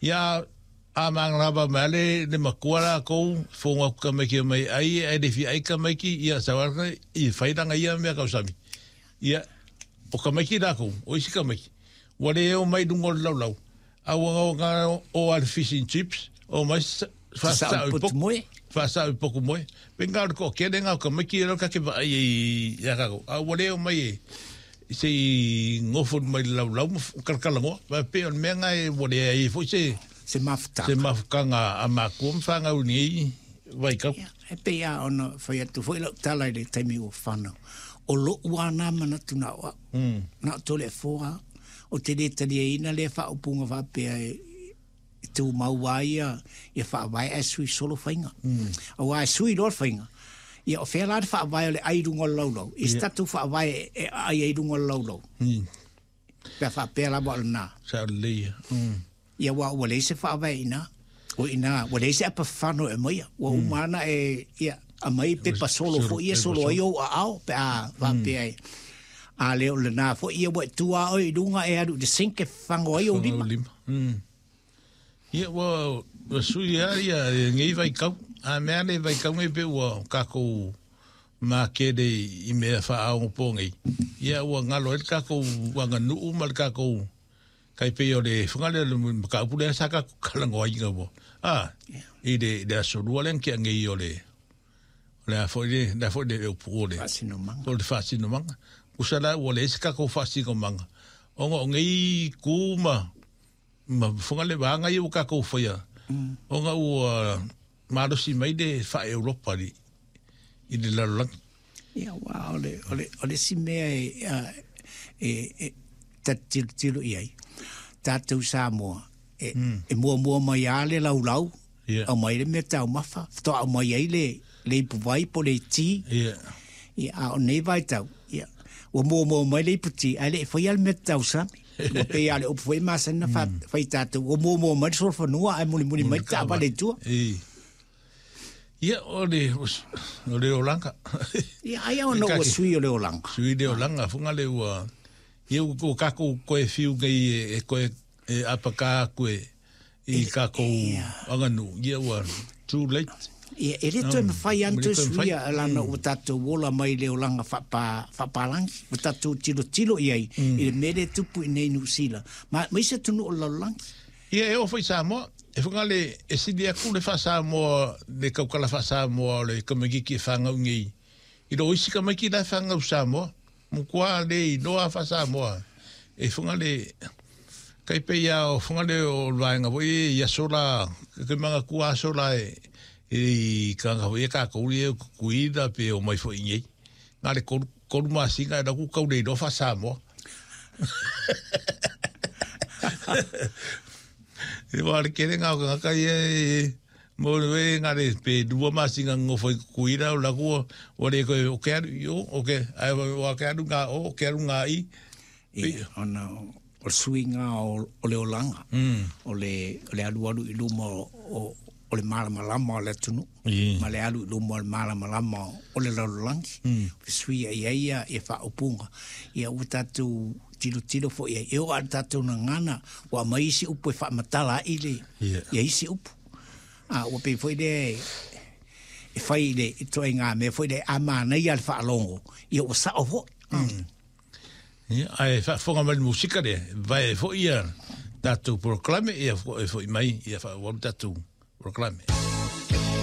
Ia, a mangalava mai le le matua lakou, fogo atu tamaiti e omai e ai, ae le fia ai tamaiti, ia sau lava i fai lana ia mea tausami. Ia, o tamaiti lakou, o isi tamaiti, ua le o mai i luga o le laulau, a ua na o lava i le fish and chips, omai faasao i potu moe. Faasao i potu moe. Pei na o le toatele na o tamaiti ia ta te vaai ai ia tatou, a ua le omai e se i nofo mai le laulau ma talatalanoa. Aua e pei o le mea na e ua leai ai foi se se mafutaga, se mafutaga a matua ma fanau i lenei vaitau. Ia, e pei lava ona fai atu foi lau tala i le taimi ua fanau, o lou lava na manatu na o au, na o Toleafoa lava, ou te le taliaina lea faaupuga faapea e e tumau lava ia, ia faavae ae sui solo faiga. Aua e sui loa le faiga, ia o fea la le faavae o le ai i luga o le laulau? I se tatou faavae e aai ai i luga o le laulau. Pe a faapea lava o lena. Sao lelei ia. Ia aua ua leai se faavae i ina. O i ina, ua leai se apafano e aumaia. Ua uma lava ona e, ia, aumai pepa solo foi ia solo ai ou aao pe a faapea e. A le o lena foi ia ua e tu lava oe i luga e alu i le sink e fafago ai ou lima. Ia ua ua sui lava ia lenei vaitau. A mea nei vaitau nei pei ua tatou makele i mea faaonapo nei, ia ua galo ai le tatou aganuu ma le tatou tai pei o le fana lea o le mataupu lea sa tatou talanoaina ua a i le i le aso lua lea na tea nei o le o le a foi le le a foi le upu o le Faasinomaga. o le faasinomaga. Tusa la ua leai se tatou faasinomaga ona o nei tu ma ma fofoga le vaega ia ua tatou faia, ona ua malosi mai le faa-Europa i, i le lalolagi. Ia, aua o le, o le, o le isi mea e, e, e ta te tilotilo i ai, tatou Samoa, e, e muamua mai lava le laulau, Ia. Aumai le mea taumafa, faatoa aumai ai le, le ipuvai po o le iti. Ia. Ia, a o nei vaitau, ia, ua muamua mai le iputi, ae le i faia le mea tausami. Ua pei lava o le upu foi e masani ona fa, fai tatou, ua muamua mai le solofanua ae mulimuli mai le taavale i tua. I. Ia, o le, o le olaga. Ia, ai ona ua sui o le olaga. Sui le olaga, foga le ua, ia ua tatou toe fiu nei e toe e apaka atu e i tatou aganuu, ia ua too late. Ia, e le toe mafai lava ona toe suia leaga ua tatou ola mai i le olaga faapa, faapalagi. Ua tatou tilotilo i ai i le mea lea e tupu i inei i Niu Sila ma, ma isi atunuu o le lalolagi. Ia, e oo foi i Samoa, e whakale, e sili atu le faa-Samoa, le tautala faa-Samoa o le tamaititi e whanau nei, i lo isi tamaiti la e whanau Samoa. Matua le iloa faa-Samoa e Fugalei. Tai pei lava o Fugalei o le vaega foi ia i aso la, ke manatua aso la e i tagata foi ia tatou ia o Tutuila pe omai foi i inei. Na o le 3 masina e alu atu tau le iloa faa-Samoa. Aua o le tele na o tagata ia e Mo le we nga le pe lua masina nofo i Tutuila o la ua ua le koe o ke alu i o o ke ai o ke alu nga o ke alu nga i. Ia, ona o le suiga o, o le olaga, o le, o le alualu i luma o, o, o le malamalama o le atunuu, ma le alu i luma o le malamalama o le lalolagi, fesuiai ai ia, ia faaupuga. Ia ua tatou tilotilo foi i ai, e oo lava i le tatou gagana, ua aumai isi upu e faamatala ai le, ia isi upu. A ua pei foi lea e fai i le ituaiga mea foi lea a manaia le faalogo, ia ua sao foi. Ia, ae faafofoga mai le musika lea, vae foi ia tatou polokalame, ia e foi mai, ia faaauau le tatou polokalame.